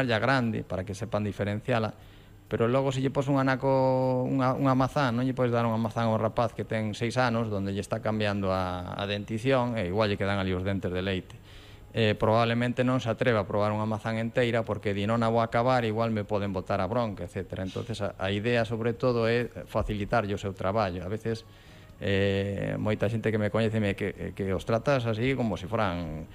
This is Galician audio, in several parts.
ya grande para que sepan diferenciala, pero logo se lle pos un anaco unha mazán, non lle podes dar unha mazán ao rapaz que ten 6 anos donde lle está cambiando a dentición e igual lle quedan ali os dentes de leite. Probablemente non se atreva a probar unha mazán enteira porque di non a vou acabar, igual me poden botar a bronca, etc. Entonces a idea sobre todo é facilitarlle o seu traballo. A veces moita xente que me coñece que os tratas así como se foran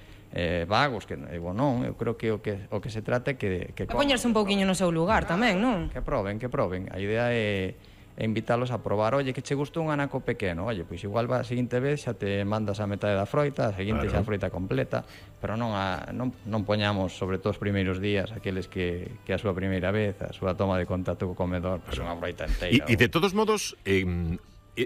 vagos, que non, eu creo que o que se trata é que poñerse un pouquiño no seu lugar tamén, non? Que proben. A idea é invitarlos a probar. Oye, que che gustou un anaco pequeno, oye, pois igual a seguinte vez xa te mandas a metade da froita, a seguinte xa a froita completa, pero non poñamos, sobre todo os primeiros días, aqueles que a súa primeira vez, a súa toma de contacto co comedor, pois unha froita inteira. E de todos modos,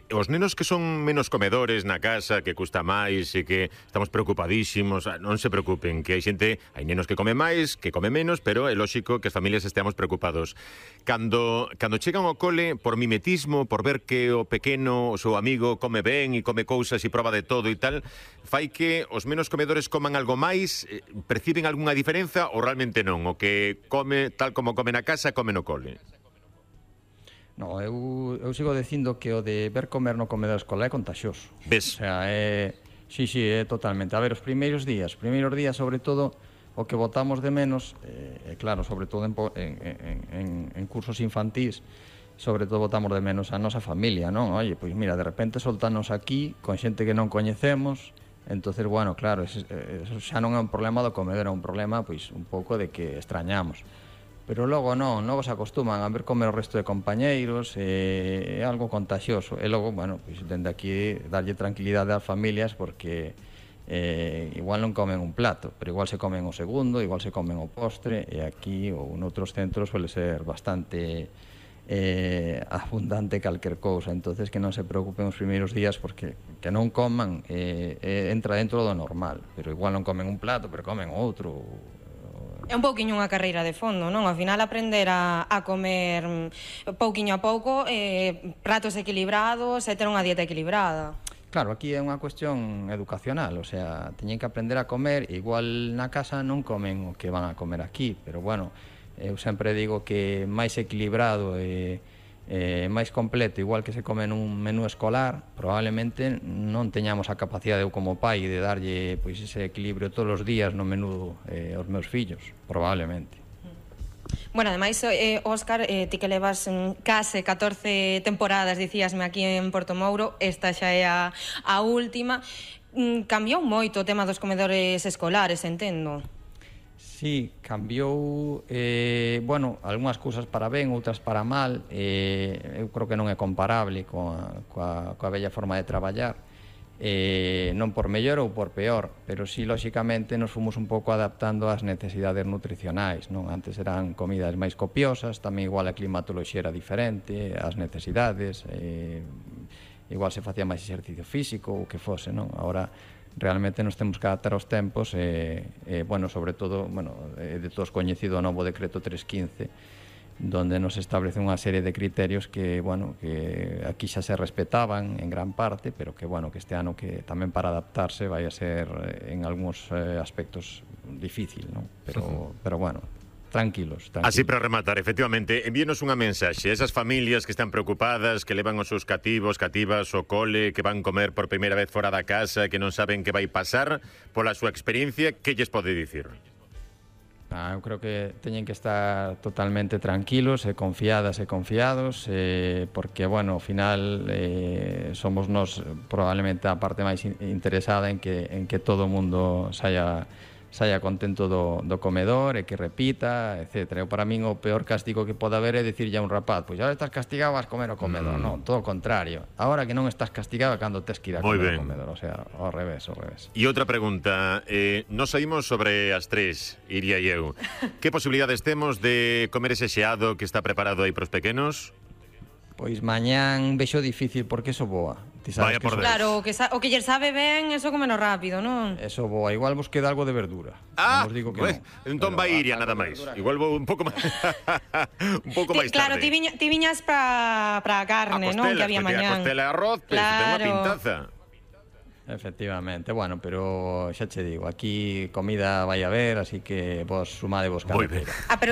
os nenos que son menos comedores na casa, que custa máis e que estamos preocupadísimos, non se preocupen, que hai nenos que come máis, que come menos, pero é lóxico que as familias esteamos preocupados. Cando chegan ao cole, por mimetismo, por ver que o pequeno, o seu amigo, come ben e come cousas e proba de todo e tal, fai que os menos comedores coman algo máis, perciben algunha diferenza ou realmente non? O que come tal como come na casa, come no cole? No, eu sigo dicindo que o de ver comer no comedor escolar é contagioso. Ves? O sea, sí, é totalmente. A ver, os primeiros días sobre todo, o que botamos de menos, claro, sobre todo en cursos infantís, sobre todo botamos de menos a nosa familia, non? Oye, pois mira, de repente soltanos aquí, con xente que non coñecemos, entonces, bueno, claro, eso xa non é un problema do comedor, é un problema, pois, un pouco de que extrañamos. Pero logo non vos acostuman a ver comer o resto de compañeiros, é algo contagioso. E logo, bueno, pois dende aquí darlle tranquilidade ás familias porque igual non comen un plato, pero igual se comen o segundo, igual se comen o postre, e aquí ou noutros centros suele ser bastante abundante calquer cousa. Entonces que non se preocupen os primeiros días porque que non coman entra dentro do normal, pero igual non comen un plato, pero comen outro. É un pouquiño unha carreira de fondo, non? Ao final aprender a comer pouquiño a pouco, pratos equilibrados e ter unha dieta equilibrada. Claro, aquí é unha cuestión educacional, o sea, teñen que aprender a comer, igual na casa non comen o que van a comer aquí, pero bueno, eu sempre digo que máis equilibrado e máis completo, igual que se come nun menú escolar, probablemente non teñamos a capacidade eu como pai de darlle pois ese equilibrio todos os días no menú aos meus fillos, probablemente. Bueno, ademais, Óscar, ti que levas case 14 temporadas, dicíasme, aquí en Portomouro, esta xa é a última. Cambiou moito o tema dos comedores escolares, entendo. Sí, cambiou, bueno, algunhas cousas para ben, outras para mal. Eu creo que non é comparable coa bella forma de traballar, non por mellor ou por peor, pero sí, lóxicamente, nos fomos un pouco adaptando ás necesidades nutricionais, non? Antes eran comidas máis copiosas, tamén igual a climatoloxía era diferente, as necesidades, igual se facía máis exercicio físico ou que fose, non? Agora realmente nos temos que adaptar aos tempos bueno, sobre todo, de todos coñecido o novo decreto 315, donde nos establece unha serie de criterios que, bueno, que aquí xa se respetaban en gran parte, pero que, bueno, que este ano que tamén para adaptarse vai a ser en algúns aspectos difícil, non? Pero bueno, tranquilos. Así para rematar, efectivamente, envíenos unha mensaxe a esas familias que están preocupadas, que levan os seus cativas ao cole, que van comer por primeira vez fora da casa, que non saben que vai pasar, pola súa experiencia, que lles pode dicir? Eu creo que teñen que estar totalmente tranquilos e confiadas e confiados, porque, bueno, ao final somos nós probablemente a parte máis interesada en que todo o mundo saia contento do comedor e que repita, etc. Para min o peor castigo que pode haber é dicirlle a un rapaz, pois agora estás castigado, vas comer ao comedor. Non, todo o contrario. Agora que non estás castigado é cando tes que ir a comer ao comedor. O sea, ao revés. E outra pregunta, nos saímos sobre as 3, Iria e eu. Que posibilidades temos de comer ese xeado que está preparado aí pros pequenos? Pois mañán vexo difícil porque eso boa. Vaya por Deus. Claro, o que ller sabe ben, eso comeno rápido, non? Eso boa, igual vos queda algo de verdura. Non digo que non. Entón vai Iria nada máis. Igual vou un pouco máis un pouco máis tarde. Claro, ti viñas para a carne, non? Que había mañán. A costela e arroz, ten unha pintaza. Efectivamente, bueno, pero xa che digo, aquí comida vai haber, así que vos sumadevos cando Moi ben. Pero